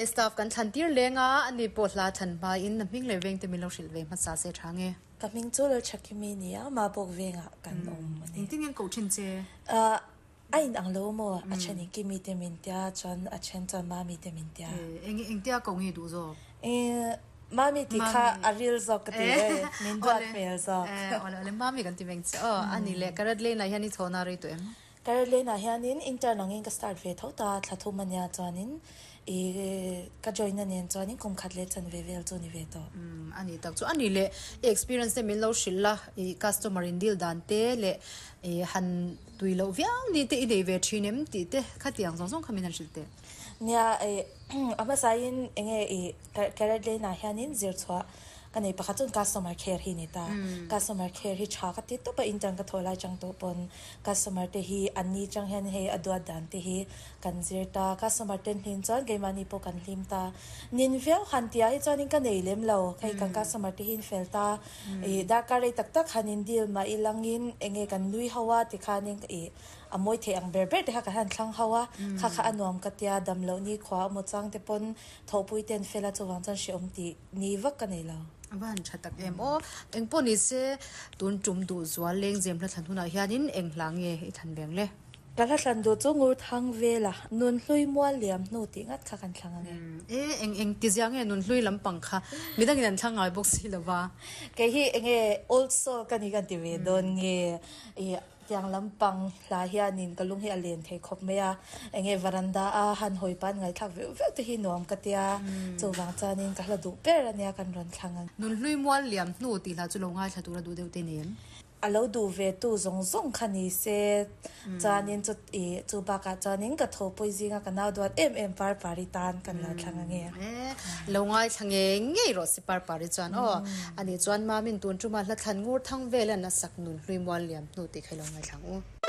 Te staff kan thlan tir leng a, ani pawh hla thlan hmain a hming leh vengte min lo hrilh ve hmasa se tha nge. Ka hming chu Lalthakimi nia, Mabawk vengah kan awm a ni. Engtin nge ko thin che? A in ang lo maw? A then in Kimi te min tia, chuan a then chuan Mami te min tia. Eng engtia ko nge duh zawk? Mami tih kha a ril zawk ka ti e, min duat hmel zawk. Awle awle Mami kan ti veng che aw. A ni leh Karat Lane ah hian i chhawna rei tawh em? Karat Lane ah hianin intern angin ka start ve tho ta, thla thum a nia chuanin i ka join na nen chuanin kum khat leh chanve vel chu ni ve tawh. Umm a ni tak chu a ni leh i experience te min lo hrilh la, i customer in deal dan te leh i han Tui loh viau ni te i nei ve thin em tih te khatiang zawng zawng kha min han hrilh teh. Nia i a hmasain enge i Carrot Lane ah hianin zir chhuah ka nei pakhat chuan customer care hi ni ta. Customer care hi tha ka ti tawp a intern ka thawh lai chang tawh pawn customer te hi an ni chang hian hei a duat dan te hi kan zir ta. Customer ten hlim chuan keimahni pawh kan hlim ta. Nin viau han tih ah hi chuanin ka nei lem lo. Hei kan customer te hi an fel ta. I darkar rei tak tak han in deal mah ilangin enge kan nui ho a tikhanin i a mawi theih ang ber ber te kha kan han thlang ho a, kha kha a nuam ka tia dam loh ni khua emaw chang te pawn thawhpui te an fel a chuvang chuan hrehawm tih ni vak ka nei lo. A va han tha tak em aw. Engpawh ni se tun tum duh zual lengzem hla thlan hunah hianin eng hla nge i thlan veng le? Ka hla thlan duh chu ngur thang vel a, nun hlui mual liam hnu tih ngat kha kan thlang ange. E, eng eng ti zia nge nun hlui lampang kha midangin an thlang ngai bawk si lo va. Kei hi enge old soul ka ni kan ti ve dawn nge i tiang lampang hla hianin ka lung hi a len thei khawp mai a, enge varanda a han hawi pan ngaihthlak veuh veuh te hi nuam ka tia, chuvang chuanin ka hla duh ber ania kan rawn thlang ang. Nun hlui mual liam hnu tih hla chu lo ngaithla tura duh deuh te ni em? A lo duh ve tu zawng zawng kha ni se, chuanin chu ih chu bakah chuanin ka thawhpui zinga ka nau duat em em Parpari tan kan lo thlang ange. E, lo ngaithla ngei ngei rawh si Parpari chuan aw. Ani chuan Mamin tun tuma hla thlan ngur thang velan a sak nun hlui mual liam hnu tih kha i lo ngaithla ang u.